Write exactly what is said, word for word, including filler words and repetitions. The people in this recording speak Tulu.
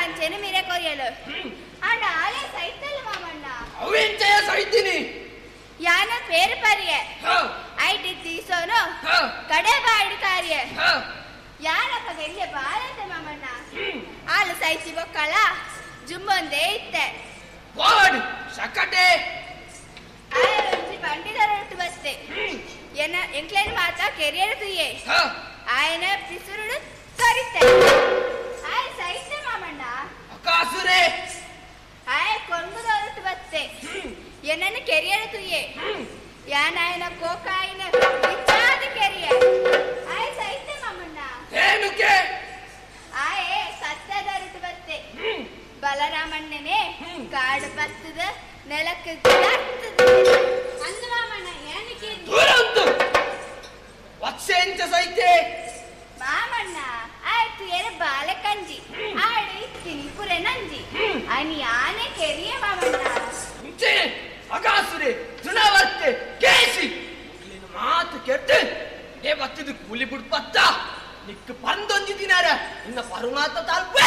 ಅಂಚೆನೆ ಮಿರೆ ಕೊರಿಯಲು ಆಂಡ ಆಲೆ ಸೈತಲ್ ಮಾಮಣ್ಣ ಅವೆಂಚಯ ಸೈತಿನಿ ಯಾನ ಪೇರು ಪರಿಯೆ ಐಟಿ ತೀಸೋನು ಕಡೆ ಬಾಯಿಡು ಕಾರ್ಯ ಯಾನಪ್ಪ ಎಲ್ಲಿ ಬಾಳತೆ ಮಾಮಣ್ಣ ಆಲು ಸೈತಿ ಬೊಕ್ಕಳ ಜುಮ್ಮೊಂದೇ ಇತ್ತೆ ವಾಡ್ ಸಕಟೆ ಆಯ ಬಂಡಿದರೊಟ್ಟು ಬತ್ತೆ ಎನ್ನ ಎಂಕ್ಲೇನು ಮಾತ ಕೆರಿಯರ್ ತುಯ್ಯೆ ಆಯನ ಪಿಸುರುಡು ಕರಿತೆ ಆಯ ಸೈತೆ ಮಾಮಣ್ಣ ಅಕಾಸುರೆ ಆಯ ಕೊಂಗುದೊರಟು ಬತ್ತೆ ಎನ್ನನ್ನು ಕೆರಿಯರ್ ತುಯ್ಯೆ ಯಾನಾಯನ ಕೋಕಾಯಿನ ಇಚ್ಚಾದ ಕೆರಿಯ ಆಯ ಸೈತೆ ಮಾಮಣ್ಣ ಏನುಕೆ ಆಯೆ ಸತ್ತದೊರಟು ಬತ್ತೆ ಬಲರಾಮಣ್ಣನೇ ಕಾಡು ಬತ್ತದ ನೆಲಕ್ಕೆ ಅಂದು ಮಾಮಣ್ಣ ಏನಕ್ಕೆ ದೂರ ಉಂಟು ವತ್ಸೆಂಚ ಸೈತೆ ಮಾಮಣ್ಣ ಆಯ್ತು ಎರ ಬಾಲೆ ಕಂಜಿ ಆಡು ಇತ್ತೀನಿ ಪುರೆ ನಂಜಿ ಅನಿ ಆನೆ ಕೆರಿಯ ಮಾಮಣ್ಣ ಮುಂಚೆ ಅಗಾಸುರೆ ತೃಣವರ್ತೆ ಕೇಸಿ ನೀನು ಮಾತು ಕೆಟ್ಟು ಇದೇ ಬತ್ತಿದು ಕೂಲಿ ಬಿಡ್ಪತ್ತ ನಿಕ್ ಪಂದೊಂಜಿ ದಿನಾರ ಇನ್ನ ಪರುಮಾತ ತಾಲ್ಪೆ.